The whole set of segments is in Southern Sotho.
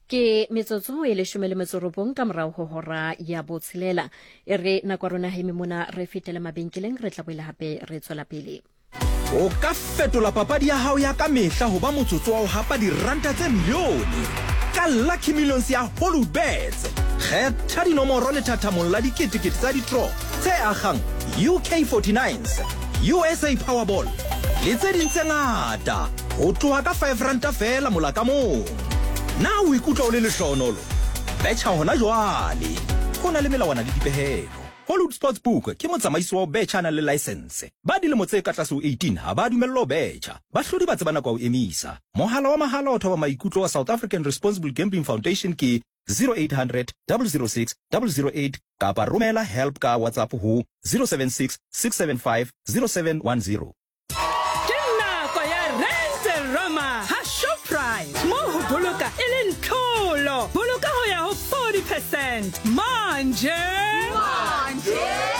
Ke metsotso e leshome le metso robong ka morago go hora ya botshelela. E re nako ya rona heme mona re fetele mabenkeleng, re tla boela hape re tswela pele. O ka fetola papadi ya hao ya ka mehla ho ba motsotso wa ho hapa diranta tse milione ka Lucky Millions ya Hollywoodbets. Kgetha dinomoro lethathamong la diketekete tsa ditro tse akgang UK 49s, USA Powerball le tse ding tse ngata ho tloha ka R5 feela mola ka mong. Na o ikutlwa o le lehlohonolo? Betjha hona jwale! Ho na le melawana le dipehelo. Hollywood Sportsbook ke motsamaisi wa ho betjha a nang le laesense. Ba dilemo tse ka tlase ho 18 ha ba dumellwa ho betjha. Bahlodi ba tseba nako ya ho emisa. Mohala wa mahala wa thoba maikutlo wa South African Responsible Gambling Foundation ke 0800 006 008 kapa romela help ka WhatsApp ho 076 675 0710. Ke nako ya Rente Roma ha Shoprite, moo ho boloka e leng tlholo. Boloka ho ya ho 40 percent manje.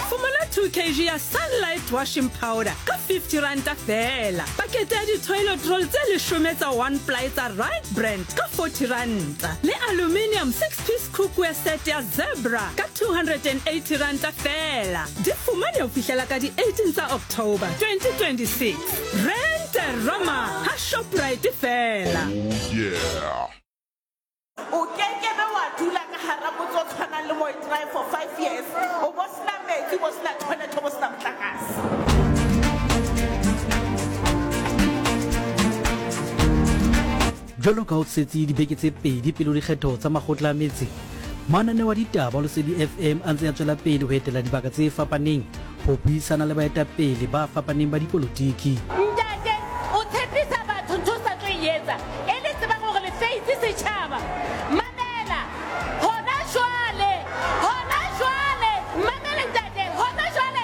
Fumana 2 kg ya Sunlight washing powder ka 50 ranta feela. Pakete ya di-toilet roll tse leshome tsa one ply tsa Right Brand ka 40 ranta. Le aluminium 6-piece cookware set ya Zebra ka 280 ranta feela. Di fumane ho fihlela ka di 18 tsa October 2026. Rente Roma ha Shoprite feela. Oh yeah. O kekebe wa dula ka hara motse o tshwanang le Moitrae for five years o bo sena metsi, o bo sena toilet, o bo sena motlakase. Jwalo ka ho setse dibeke tse pedi pele ho dikgetho tsa makgotla a metse, mananeo a ditaba ho Lesedi FM a ntse a tswela pele ho etela dibaka tse fapaneng ho buisana le baetapele ba fapaneng ba dipolotiki. Ntate, o tshepisa batho ntho o sa tlo e etsa, e le tsebang hore le feitse setjhaba. Mamela, hona jwale, hona jwale, mamele ntate, hona jwale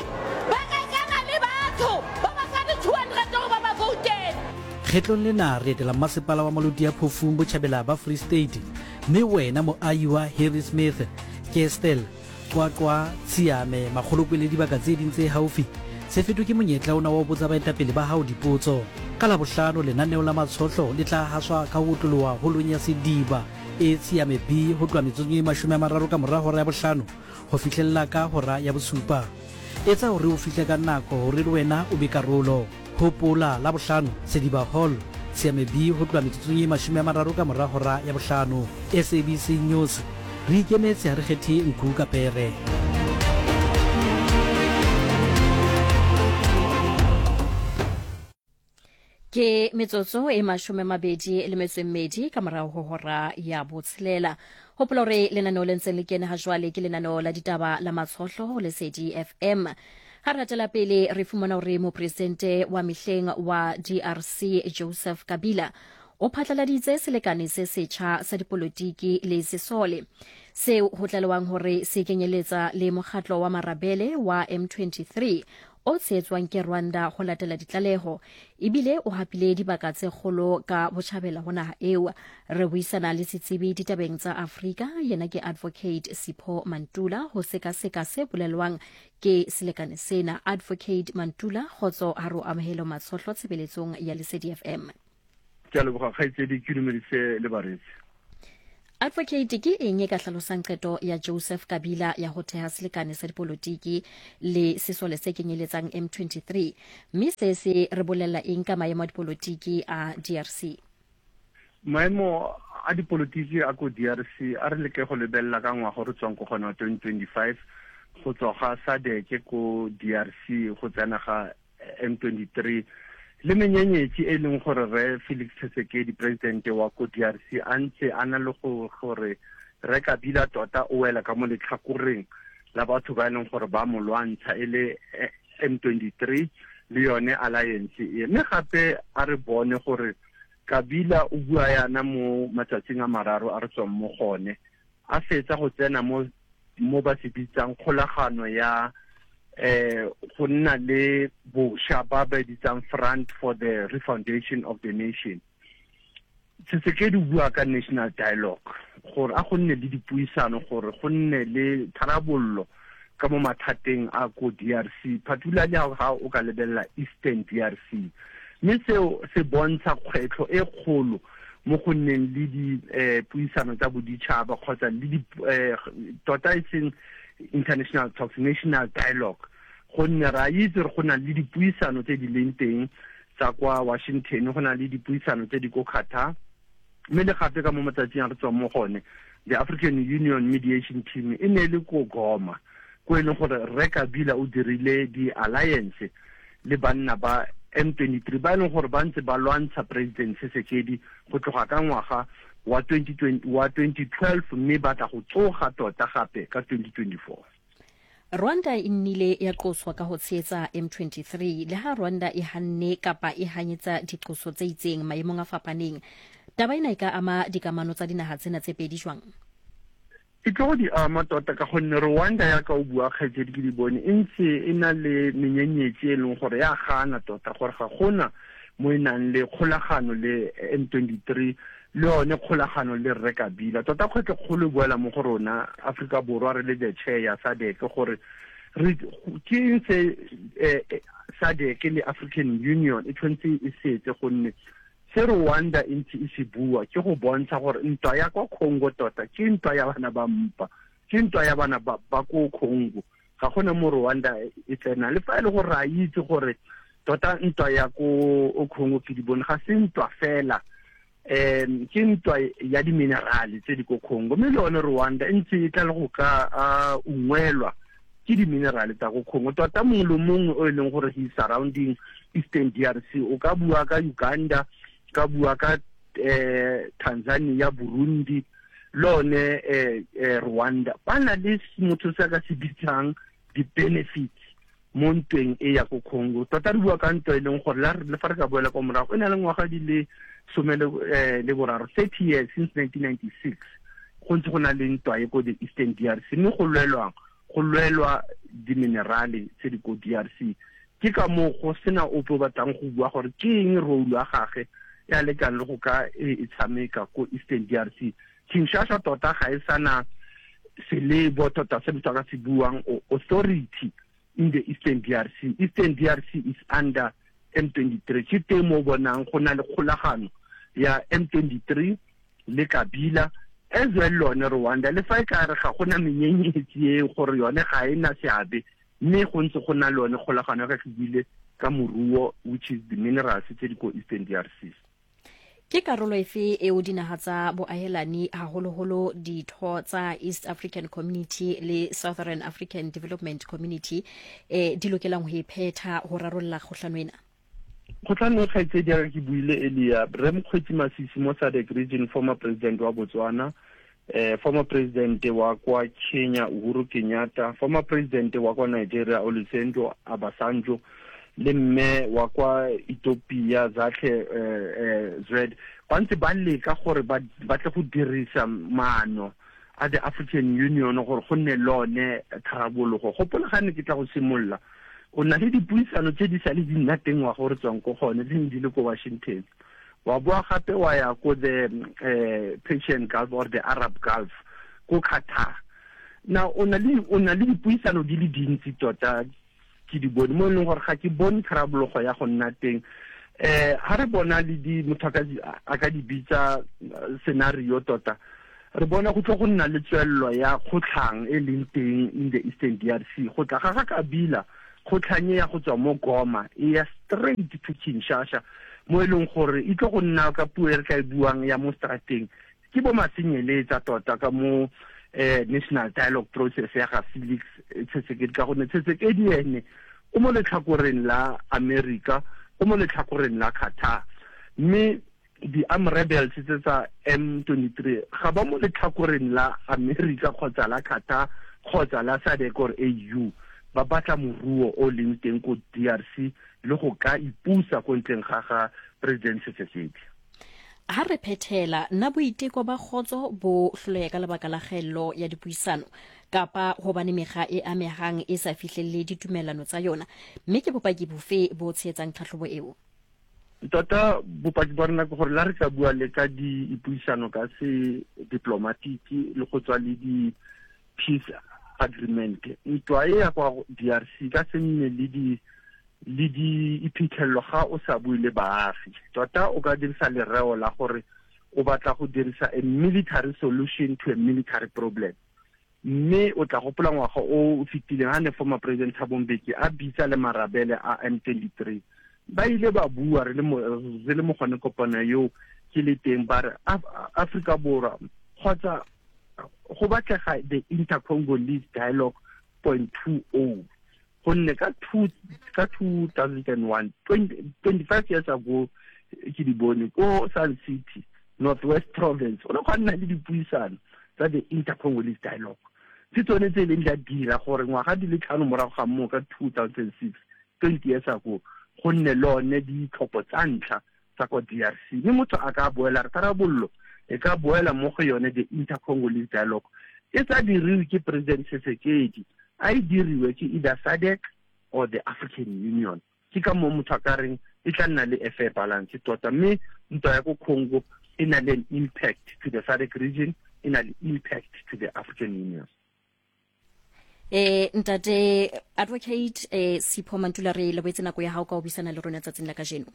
ba rekana le batho ba ba fa di-200 hore ba ba voutele. Kgetlong lena re etela mmasepala wa Maluti-a-Phofung botjhabela ba Free State, mme wena moahi wa Harrismith, Kestell, Qwaqwa, Tshiame, Makgolokwe le dibaka tse ding tse haufi, se fetwe ke monyetla ona wa ho botsa baetapele ba hao dipotso. Ka Labohlano lenaneo la Matshohlo le tla haswa ka ho otloloha holong ya Sediba e Tshiame B ho tloha metsotsong e 30 ka mora hora ya bohlano ho fihlella ka hora ya bosupa. Etsa hore o fihle ka nako hore le wena o be karolo. Hopola, Labohlano, Sediba Hall, Tshiame B ho tloha metsotsong e 30 ka mora hora ya bohlano. SABC News, Re ikemetse ha re kgethe nku ka pere. Ke metsotso e 22 le metso e mmedi ka morago go hora ya botshelela. Gopola gore lenaneo le ntseng le kene ga jwale ke lenaneo la ditaba la Matshohlo go Lesedi FM. Ga re ratela pele re fumana gore mopresidente wa mehleng wa DRC Joseph Kabila o phatlaladitse selekane se setjha sa dipolotiki le sesole seo ho tlalewang hore se kenyeletsa le mokgatlo wa marabele wa M23 o tshehetswang ke Rwanda ho latela ditlaleho ebile o hapile dibaka tse kgolo ka botjhabela ho naha eo. Re buisana le setsebi ditabeng tsa Afrika, yena ke Advocate Sipho Mantula ho sekaseka se bolelwang ke selekane sena. Advocate Mantula, kgotso ha re o amohele Matshohlo tshebeletsong ya Lesedi FM. Ke a leboga kgaitsedi, ke dumedise le bareetsi. Advocate, ke eng e ka hlalosang qeto ya Joseph Kabila ya ho theha selekane sa dipolotiki le sesole se kenyeletsang M23, mme se se re bolella eng ka maemo a dipolotiki a DRC? Maemo a dipolotiki a ko DRC a re leke go lebelela ka ngwaga re tswang ko gona 2025, go tswa ga SADC ko DRC go tsena ga M23 le menyenyetsi e leng gore re Felix Tshisekedi presidente wa ko DRC a ntse a na le go gore re Kabila tota o wela ka mo letlhakoreng la batho ba e leng gore ba mo lwantsha e le M23 le yone alliance e. Mme gape a re bone gore Kabila o bua yana mo matsatsing a mararo a re tswang mo gone, a fetsa go tsena mo mo ba se bitsang kgolagano ya go nna le bosha ba ba bitsang Front for the Refoundation of the Nation. Tshisekedi o bua ka national dialogue gore a go nne le dipuisano, gore go nne le tharabollo ka mo mathateng a ko DRC, particularly ha o ka lebelela Eastern DRC. Mme seo se bontsha kgwetlho e kgolo mo go nneng le dipuisano tsa boditšhaba kgotsa le di tota e seng international talks, national dialogue, gonne re a itse gore go na le dipuisano tse di leng teng tsa kwa Washington, go na le dipuisano tse di ko Qatar, mme le gape ka mo matsatsing a re tswang mo gone, the African Union Mediation Team e ne e le ko Goma, ko e leng gore Rre Kabila o dirile di-alliance le banna ba M23 ba e leng gore ba ntse ba lwantsha President Tshisekedi go tloga ka ngwaga wa 2020, wa 2012, mme ba tla go tsoga tota gape ka 2024. Rwanda e nnile ya qoswa ka ho tshehetsa M23. Le ha Rwanda e hanne kapa e hanyetsa diqoso tse itseng maemong a fapaneng, taba ena e ka ama dikamano tsa dinaha tsena tse pedi jwang? E tlo go di ama tota ka gonne Rwanda ya ka o bua kgaitsedi ke di bone e ntse e na le menyenyetsi e leng gore ya gana tota gore ga gona mo e nang le kgolagano le M23 le yone kgolagano le Rre Kabila. Tota kgwetlho kgolo e boela mo go rona Aforika Borwa re le the chair ya SADC gore re ke eng se SADC le African Union e tshwanetse e setse, gonne se Rwanda e ntse e se bua ke go bontsha gore ntwa ya kwa Congo tota ke ntwa ya bana ba mpa, ke ntwa ya bana ba ko Congo, ga gona mo Rwanda e tsena. Le fa e le gore re a itse gore tota ntwa ya ko Congo ke di bone ga se ntwa fela, ke ntwa ya diminerale tse di ko Congo, mme le yone Rwanda e ntse e tla le go ka ungwelwa ke diminerale tsa ko Congo. Tota mongwe le mongwe o e leng gore he surrounding Eastern DRC, o ka bua ka Uganda, ka bua ka Tanzania, Burundi, le one Rwanda, ba na le motho se a ka se bitsang di-benefits mo ntweng e ya ko Congo. Tota re bua ka ntwa e leng gore le fa re ka boela kwa morago e na le ngwaga di le some le boraro, 30 years since 1996 go ntse go na le ntwa e ko the Eastern DRC, mme go lwelwang go lwelwa diminerale tse di ko DRC. Ke ka moo go sena ope o batlang go bua gore ke eng role ya gage ya lekang le go ka e tshameka ko Eastern DRC. Kinshasa tota ga e sana selebo tota se motho a ka se buang authority in the Eastern DRC. Eastern DRC is under M23. Ke teng mo bonang go na le kgolagano ya M23 le Kabila as well lone Rwanda, le fa e ka re ga gona menyenyetsi e gore yone ga e na seabe, mme go ntse go na le yone kgolagano ya ka ke buile ka moruo, which is the minerals tse di ko Eastern DRC. Ke karolo efe eo dinaha tsa boahelani, haholoholo ditho tsa East African Community le Southern African Development Community, di lokelang ho e phetha ho rarolla kgohlano ena? Kgotlhano e kgaitsedi ya ka ke buile earlier, Rre Mokgweetsi Masisi mo SADC region, former president wa Botswana, former president wa kwa Kenya Uhuru Kenyatta, former president wa kwa Nigeria Olusegun Obasanjo, le mme wa kwa Ethiopia Zahle Zwed, ba ntse ba leka gore ba tle go dirisa maano a the African Union gore go nne le one tharabololo. Gopola ga ne ke tla go simolola, o na le dipuisano tse di sa le di nna teng ngwaga o re tswang ko gone, di ne di le ko Washington. Wa boa gape wa ya ko the Persian Gulf or the Arab Gulf ko Qatar. Now o na le dipuisano di le dintsi tota ke di bone mo e leng gore ga ke bone tharabololo ya go nna teng. Ha re bona le di motho a ka di bitsa scenario tota, re bona go tlo go nna le tswelelo ya kgotlhang e leng teng in the Eastern DRC. Go tla ga ga Kabila, kgotlhang e ya go tswa mo Goma e ya straight to Kinshasa, mo e leng gore e tlo go nna ka puo e re tla e buang ya mo strateng ke bo masenyeletsa tota ka mo national dialogue process ya ga Felix Tshisekedi, ka gonne Tshisekedi ene o mo letlhakoreng la America, o mo letlhakoreng la Qatar, mme di-armed rebels tse tsa M23 ga ba mo letlhakoreng la America kgotsa la Qatar kgotsa la SADC or AU. Ba batla moruo o leng teng ko DRC le go ka ipusa ko ntleng ga ga President Tshisekedi. Ha re phethela, na boiteko ba kgotso bo hloleha ka lebaka la kgaello ya dipuisano kapa hobane mekga e amehang e sa fihlelle ditumellano tsa yona, mme ke bopaki bofe bo tshehetsang tlhahlobo eo? Tota bopaki ba rona ke gore la re ka bua le ka dipuisano ka se diplomatiki le go tswa le di peace agreement, ntwa e ya kwa DRC ka se nne le di le di iphitlhelelo ga o sa bue le baagi. Tota o ka dirisa lereo la gore O batla go dirisa a military solution to a military problem. Mme o tla gopola ngwaga o o fetileng ha ne former President Thabo Mbeki a bitsa le marabele a M23, ba ile ba bua re le mo re le mo gone kopano eo ke le teng, ba re Afrika Borwa kgotsa go batlega the Inter-Congolese Dialogue point two o, gonne ka two ka 2001, 25 years ago, ke di bone ko Sun City, Northwest Province, o ne go nna le dipuisano tsa the Inter-Congolese Dialogue. Ke tsone tse e leng di a dira gore ngwaga di le tlhano morago ga moo ka 2006, 20 years ago, go nne le one ditlhopho tsa ntlha tsa kwa DRC. Mme motho a ka boela re tharabololo e ka boela mo go yone the Inter-Congolese Dialogue e sa diriwe ke President Tshisekedi, a e diriwe ke either SADC or the African Union. Ke ka moo motho a ka reng e tla nna le a fair balance tota. Mme ntwa ya ko Congo e na le an impact to the SADC region, e na le impact to the African Union. Eh ntate Advocate Sipho Mantula, re leboetse nako ya hao ka ho buisana le rona tsatsing la kajeno.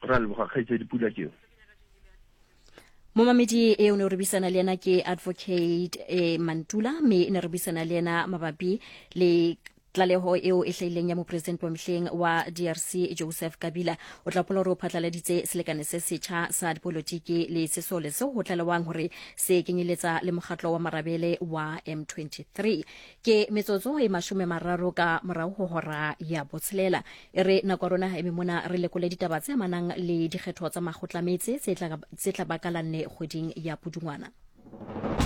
Ra leboga kgaitsedi Pula keo. Momamedi e o ne re buisana le yena ke Advocate Mantula, mme ne re buisana le yena mabapi le tlaleho eo e hlahileng ya mopresidente wa mehleng wa DRC Joseph Kabila. O tla hopola hore o phatlaladitse selekane se setjha sa dipolotiki le sesole seo ho tlalewang hore se kenyeletsa le mokgatlo wa marabele wa M23. Ke metsotso e 30 ka morao ho hora ya botshelela. E re nako ya rona e me mona re lekole ditaba tse amanang le dikgetho tsa makgotlametse tse tla ba ka la nne kgweding ya Pudungwana.